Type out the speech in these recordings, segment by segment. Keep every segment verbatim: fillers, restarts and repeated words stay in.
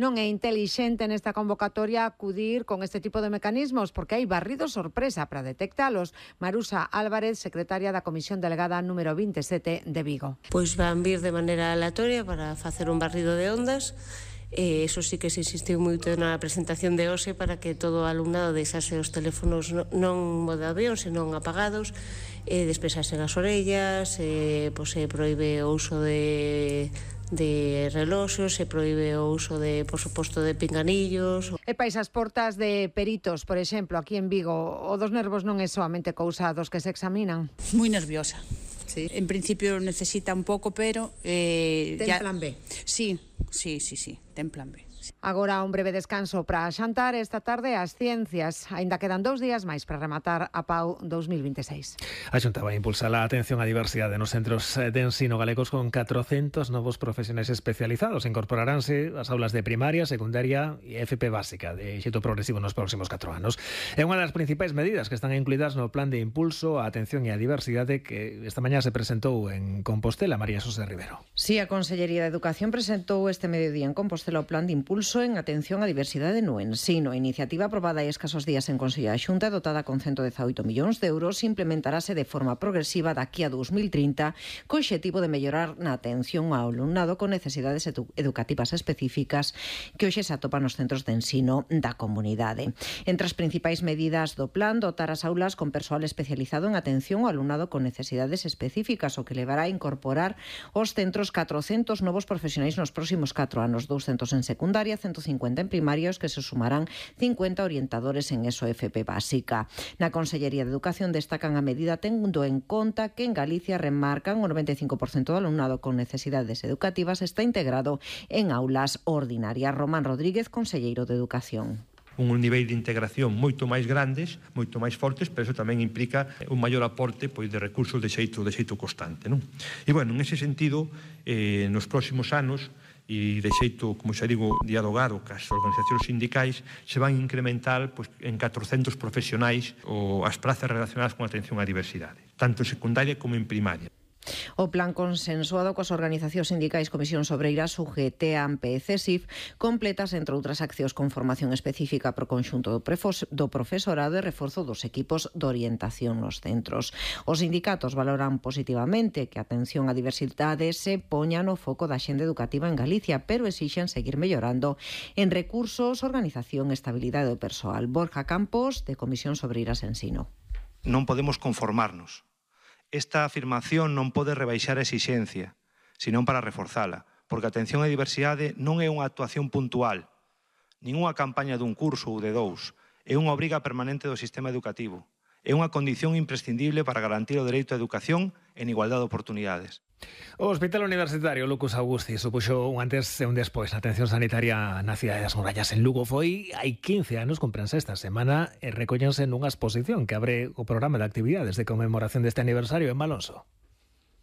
Non é intelixente nesta convocatoria acudir con este tipo de mecanismos porque hai barrido sorpresa para detectalos. Marusa Álvarez, secretaria da Comisión Delegada número vinte e sete de Vigo. Pois van vir de maneira aleatoria para facer un barrido de ondas. E iso sí que se insistiu moito na presentación de hoxe para que todo o alumnado deixase os teléfonos non modo avión, senón apagados, e despexasen as orellas, e, pois, se proíbe o uso de... de reloxos, se proíbe o uso de, por suposto, de pinganillos. E pais as portas de peritos, por exemplo, aquí en Vigo, o dos nervos non é soamente cousa dos que se examinan. Moi nerviosa. Sí. En principio necesita un pouco, pero... Eh, ten ya... plan B? Sí, sí, sí, sí, ten plan B. Agora un breve descanso para xantar esta tarde as ciencias. Aínda quedan dous días máis para rematar a Pau dos mil vinte e seis. A Xunta vai impulsar a atención á diversidade nos centros de ensino galegos con catrocentos novos profesionais especializados. Incorporaranse as aulas de primaria, secundaria e F P básica de xeito progresivo nos próximos catro anos. É unha das principais medidas que están incluídas no plan de impulso á atención e á diversidade que esta mañá se presentou en Compostela. María Xosé Rivero. Sí, a Consellería de Educación presentou este mediodía en Compostela o plan de impulso en atención á diversidade no ensino. A iniciativa aprobada hai escasos días en Consello da Xunta, dotada con ciento dezaoito millóns de euros, implementarase de forma progresiva daqui a dos mil trinta co obxectivo de mellorar na atención ao alumnado con necesidades edu- educativas específicas que hoxe se atopan nos centros de ensino da comunidade. Entre as principais medidas do plan, dotar as aulas con persoal especializado en atención ao alumnado con necesidades específicas, o que levará a incorporar aos centros catrocentos novos profesionais nos próximos catro anos, douscentos en secundaria, ciento cincuenta en primarios, que se sumarán cincuenta orientadores en E S O F P básica. Na Consellería de Educación destacan a medida tendo en conta que en Galicia remarcan o noventa e cinco por cento do alumnado con necesidades educativas está integrado en aulas ordinarias. Román Rodríguez, conselleiro de Educación. Un nivel de integración moito máis grandes, moito máis fortes, pero eso tamén implica un maior aporte pois, de recursos de xeito, de xeito constante. Non? E, bueno, en ese sentido, eh, nos próximos anos, e de xeito, como xa digo, dialogado cas organizacións sindicais, se van incrementar pois, en catrocentos profesionais ou as prazas relacionadas con a atención á diversidade, tanto en secundaria como en primaria. O plan consensuado coas organizacións sindicais Comisións Obreiras, U G T, A M P e C E S I F completas, entre outras accións, con formación específica pro conxunto do, prefos, do profesorado e reforzo dos equipos de orientación nos centros. Os sindicatos valoran positivamente que a atención á diversidade se poña no foco da xenda educativa en Galicia, pero exixen seguir mellorando en recursos, organización e estabilidade do persoal. Borja Campos, de Comisións Obreiras Ensino. Non podemos conformarnos. Esta afirmación non pode rebaixar a exixencia, senón para reforzala, porque a atención á diversidade non é unha actuación puntual, nin unha campaña dun curso ou de dous, é unha obriga permanente do sistema educativo, é unha condición imprescindible para garantir o dereito á educación en igualdade de oportunidades. O Hospital Universitario Lucas Augusti supuxo un antes e un despois na atención sanitaria na cidade das Murallas en Lugo. Foi hai quince anos, comprense esta semana, e recóllense nunha exposición que abre o programa de actividades de conmemoración deste aniversario en Malonso.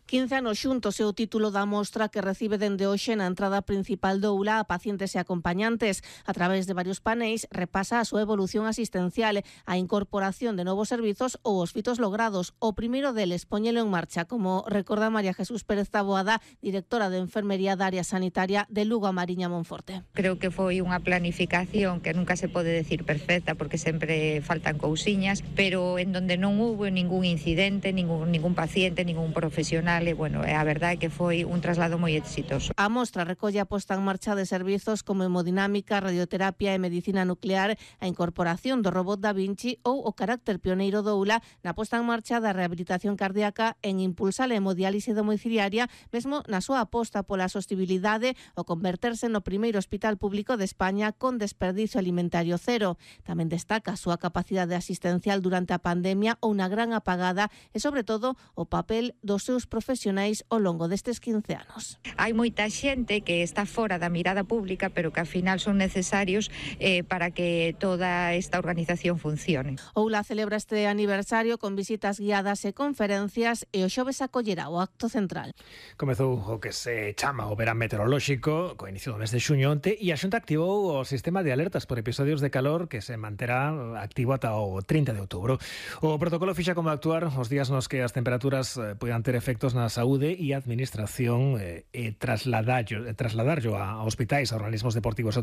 quince anos xuntos é o título da mostra que recibe dende hoxe na entrada principal do aula a pacientes e acompañantes. A través de varios paneis repasa a súa evolución asistencial, a incorporación de novos servizos ou os fitos logrados. O primeiro deles poñelo en marcha, como recorda María Jesús Pérez Taboada, directora de Enfermería da área sanitaria de Lugo a Mariña Monforte. Creo que foi unha planificación que nunca se pode decir perfecta porque sempre faltan cousiñas, pero en donde non hubo ningún incidente, ningún, ningún paciente, ningún profesional. E, bueno, a verdade é que foi un traslado moi exitoso. A mostra recolle a posta en marcha de servizos como hemodinámica, radioterapia e medicina nuclear, a incorporación do robot Da Vinci ou o carácter pioneiro do aula na posta en marcha da rehabilitación cardíaca, en impulsar a hemodiálise domiciliaria, mesmo na súa aposta pola sostibilidade o converterse no primeiro hospital público de España con desperdicio alimentario cero. Tamén destaca a súa capacidade asistencial durante a pandemia ou na gran apagada e, sobre todo, o papel dos seus profesionais profesionais ao longo destes quince anos. Hai moita xente que está fora da mirada pública, pero que ao final son necesarios eh, para que toda esta organización funcione. Oula celebra este aniversario con visitas guiadas e conferencias e o xoves acollerá o acto central. Comezou o que se chama o verán meteorolóxico, co inicio do mes de xuño onte, e a Xunta activou o sistema de alertas por episodios de calor que se manterá activo ata o trinta de outubro. O protocolo fixa como actuar os días nos que as temperaturas eh, poidan ter efectos na saúde e a administración eh, e trasladarlo, trasladarlo a hospitais, a organismos deportivos